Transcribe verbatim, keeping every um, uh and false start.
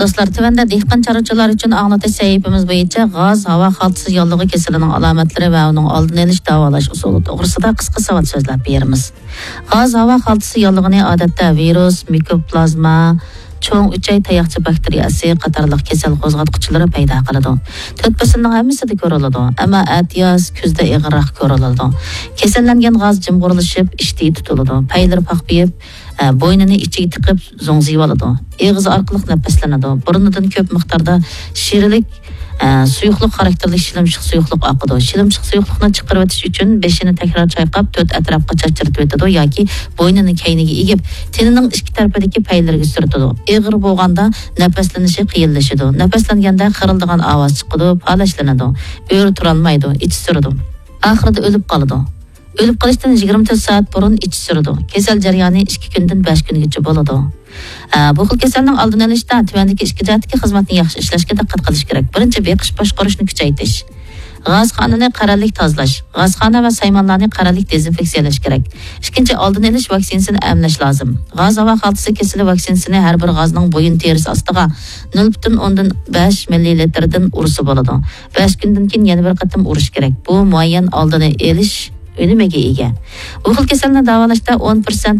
دوستلار، تۆۋەندە دېھقان چارۋىچىلار ئۈچۈن ئاڭلىتىش سەھىپىمىز بويىچە غاز ھاۋا خالتىسى ياللۇغى كېسىلىنىڭ ئالامەتلىرى ۋە ئۇنىڭ ئالدىنى ئېلىش، داۋالاش ئۇسۇلى توغرىسىدا قىسقا ساۋات سۆزلەپ بېرىمىز. غاز ھاۋا خالتىسى ياللۇغىنى ئادەتتە ۋىرۇس، مىكوپلازما، چوڭ ئۈچەي تاياقچە باكتېرىيەسى قاتارلىق كېسەل قوزغاتقۇچىلىرى پەيدا قىلىدۇ. تۆت پەسىلنىڭ ھەممىسىدە كۆرۈلىدۇ، ئەمما ئەتىياز، كۈزدە ئېغىرراق كۆرۈلىدۇ. كېسەللەنگەن غاز جىمغۇرلىشىپ، ئىشتىيى تۇتۇلىدۇ، پەيلىرى پاقپىيىپ، ئە، بوينىنى ئىچىگە تىقىپ زوڭزىيىۋالىدۇ. ئېغىز ئارقىلىق نەپەسلىنىدۇ. بۇرنىدىن كۆپ مىقداردا شىرىلىك، ئە، سۇيۇقلۇق خاراكتېرلىك شىلىمشىق سۇيۇقلۇق ئاقىدۇ. شىلىمشىق سۇيۇقلۇقنى چىقىرىۋېتىش ئۈچۈن بېشىنى تەكرار چايقاپ، تۆت ئەتراپقا چاچرىتىۋېتىدۇ ياكى بوينىنى كەينىگە ئېگىپ، تېنىنىڭ ئىككى تەرىپىدىكى پەيلىرىگە سۈرتىدۇ. ئېغىر بولغاندا نەپەسلىنىشى قىيىنلىشىدۇ. نەپەسلەنگەندە خىرىلدىغان ئاۋاز چىقىدۇ، پالەچلىنىدۇ. ئۆرە تۇرالمايدۇ، ئىچى سۈرىدۇ. ئاخىرىدا ئۆلۈپ قالىدۇ. ئۆلۈپ قېلىشتىن يىگىرمە تۆت سائەت بۇرۇن ئىچى سۈرىدۇ. كېسەل جەريانى ئىككى كۈندىن بەش كۈنگىچە بولىدۇ. ئە، بۇ خىل كېسەلنىڭ ئالدىنى ئېلىشتا تۆۋەندىكى ئىككى جەھەتتىكى خىزمەتنى ياخشى ئىشلەشكە دىققەت قىلىش كېرەك. بىرىنچى، بېقىش باشقۇرۇشنى كۈچەيتىش. غازخانىنى قەرەللىك تازىلاش. غازخانا ۋە سايمانلارنى قەرەللىك دېزىنفېكسىيەلەش كېرەك. ئىككىنچى، ئالدىنى ئېلىش ۋاكسىنىسىنى ئەملەش لازىم. غاز ھاۋا خالتىسى كېسىلى ۋاكسىنىسىنى ھەر بىر غازنىڭ بويۇن تېرىسى ئاستىغا نۆل پۈتۈن ئوندىن بەش مىللىلىتىردىن ئۇرسا بولىدۇ. بەش كۈندىن كېيىن يەنە بىر قېتىم ئۇرۇش كېرەك. بۇ مۇئەييەن ئالدىنى ئېلىش ئۈنۈمىگە ئىگە. بۇ خىل كېسەلنى داۋالاشتا ئون پىرسەنتلىك